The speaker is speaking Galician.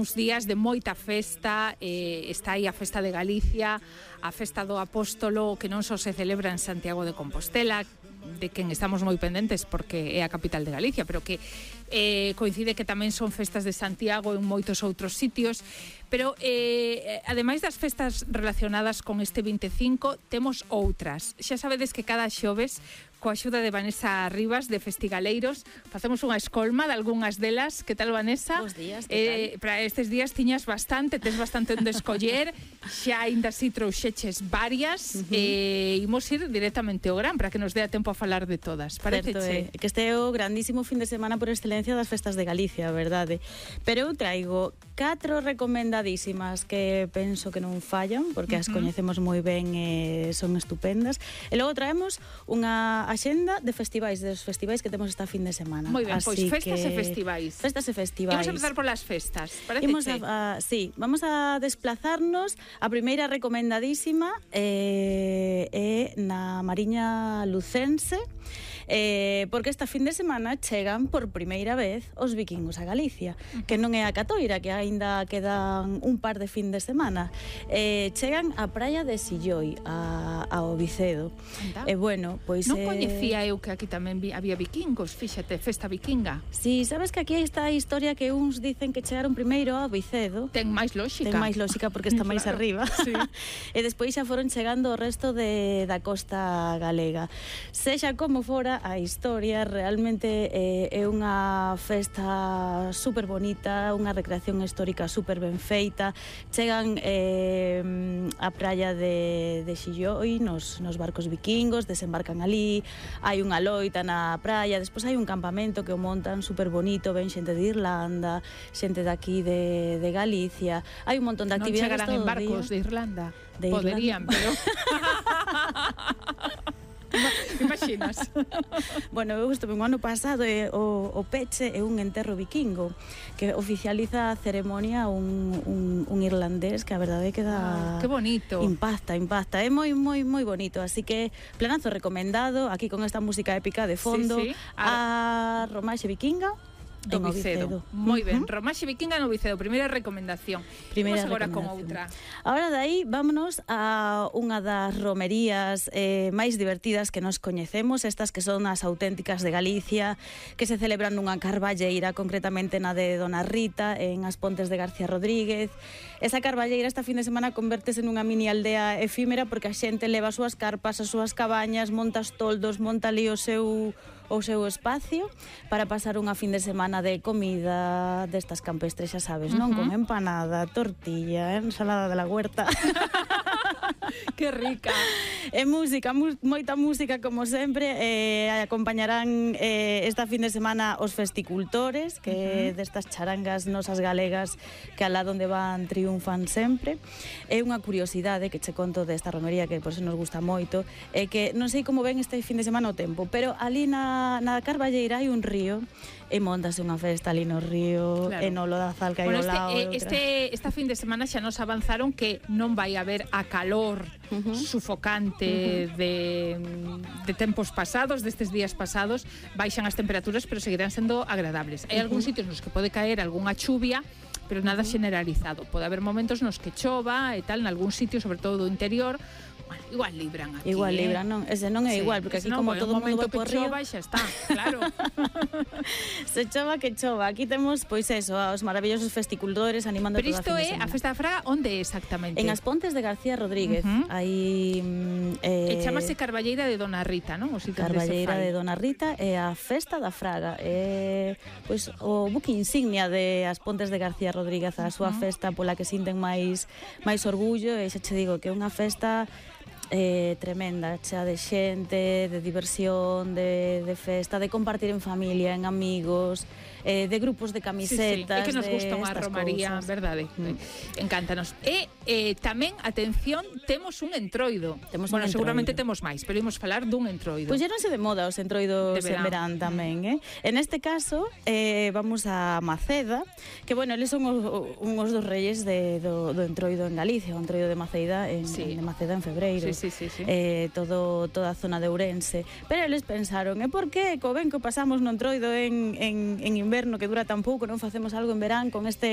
uns días de moita festa, está aí a Festa de Galicia, a Festa do Apóstolo, que non só se celebra en Santiago de Compostela, de quen estamos moi pendentes porque é a capital de Galicia, pero que coincide que tamén son festas de Santiago en moitos outros sitios, pero ademais das festas relacionadas con este 25, temos outras. Xa sabedes que cada xoves, coa axuda de Vanessa Rivas, de Festigaleiros, facemos unha escolma de algunhas delas. Que tal, Vanessa? Bos días, que tal? Para estes días tiñas bastante, tes bastante onde escoller, xa ainda si trouxeches varias, imos ir directamente ao gran, para que nos dea tempo a falar de todas. Pareceche? Que este é o grandísimo fin de semana por excelencia das festas de Galicia, verdade? Pero eu traigo 4 recomendadísimas que penso que non fallan, porque as coñecemos moi ben e son estupendas. E logo traemos unha axenda de festivais, dos festivais que temos esta fin de semana. Moi ben, pois festas e festivais. Festas e festivais. Imos a empezar polas festas, parece. Sí, vamos a desplazarnos. A primeira recomendadísima é na Mariña Lucense, porque esta fin de semana chegan por primeira vez os vikingos a Galicia, que non é a Catoira, que aínda quedan un par de fin de semana. Chegan á praia de Silloi, ao Vicedo. E bueno, pois non coñecía eu que aquí tamén había vikingos, fíxate, festa vikinga. Si, sabes que aquí está a historia que uns dicen que chegaron primeiro ao Vicedo. Ten máis lógica. Ten máis lógica porque está máis arriba. Sí. E despois xa foron chegando o resto da costa galega. Sexa como fora, a historia realmente é unha festa super bonita, unha recreación histórica super ben feita. Chegan a praia de Silloi nos barcos vikingos, desembarcan ali, hai unha loita na praia, despois hai un campamento que o montan super bonito, ven xente de Irlanda, xente daqui de Galicia, hai un montón de actividades todo o día. Non chegarán en barcos de Irlanda? Poderían, pero... Imaginas? Bueno, eu estuve un ano pasado e o peche é un enterro vikingo que oficializa a ceremonia un irlandés que a verdade queda... que bonito. Impacta, é moi bonito, así que planazo recomendado aquí con esta música épica de fondo. Sí. A romaxe vikinga do Vicedo. Moi ben, romaxe vikinga no Vicedo, primeira recomendación. Vamos agora con outra. Ahora dai, vámonos a unha das romerías máis divertidas que nos coñecemos, estas que son as auténticas de Galicia, que se celebran nunha carballeira, concretamente na de Dona Rita, en As Pontes de García Rodríguez. Esa carballeira esta fin de semana convértese nunha mini aldea efímera porque a xente leva as súas carpas, as súas cabañas, monta os toldos, monta ali o seu espacio para pasar unha fin de semana de comida destas campestres, xa sabes, non? Con empanada, tortilla, ensalada de la huerta. Que rica. E música, moita música como sempre. Acompañarán esta fin de semana os festicultores, que destas charangas nosas galegas que alá donde van triunfan sempre. É unha curiosidade que che conto desta romería que por se nos gusta moito, é que non sei como ven este fin de semana o tempo, pero ali na Carballeira hai un río e montase unha festa ali no río, claro. E no Lodazal que hai ao lado. Esta fin de semana xa nos avanzaron que non vai haber a calor sufocante de tempos pasados, destes días pasados, baixan as temperaturas, pero seguirán sendo agradables. Hai algúns sitios nos que pode caer algunha chuvia, pero nada generalizado. Pode haber momentos nos que chova e tal, en algún sitio, sobre todo do interior. Igual libran aquí. Igual libran, non? Ese non é igual, porque aquí como todo o mundo vai por río. Chova e xa está, claro. Se chova que chova. Aquí temos, pois eso, os maravillosos festicultores animando toda a fin de semana. Pero isto é a Festa da Fraga, onde é exactamente? En As Pontes de García Rodríguez. Aí... E chamase Carballeira de Dona Rita, non? Carballeira de Dona Rita é a Festa da Fraga. Pois o buque insignia de As Pontes de García Rodríguez, a súa festa pola que sinten máis orgullo, e xa che digo que é unha festa tremenda, chea de xente, de diversión, de festa, de compartir en familia, en amigos, de grupos de camisetas. É que nos gusta unha romaría, verdade? Encántanos. E tamén, atención, temos un entroido. Bueno, seguramente temos máis, pero imos falar dun entroido. Pois non se de moda os entroidos en verán tamén, En este caso, vamos a Maceda, que, bueno, eles son uns dos reyes do entroido en Galicia, o entroido de Maceda en Maceda en febreiro. Toda a zona de Ourense, pero eles pensaron, por que co ben que pasamos no entroido en inverno, que dura tan pouco, non facemos algo en verán con este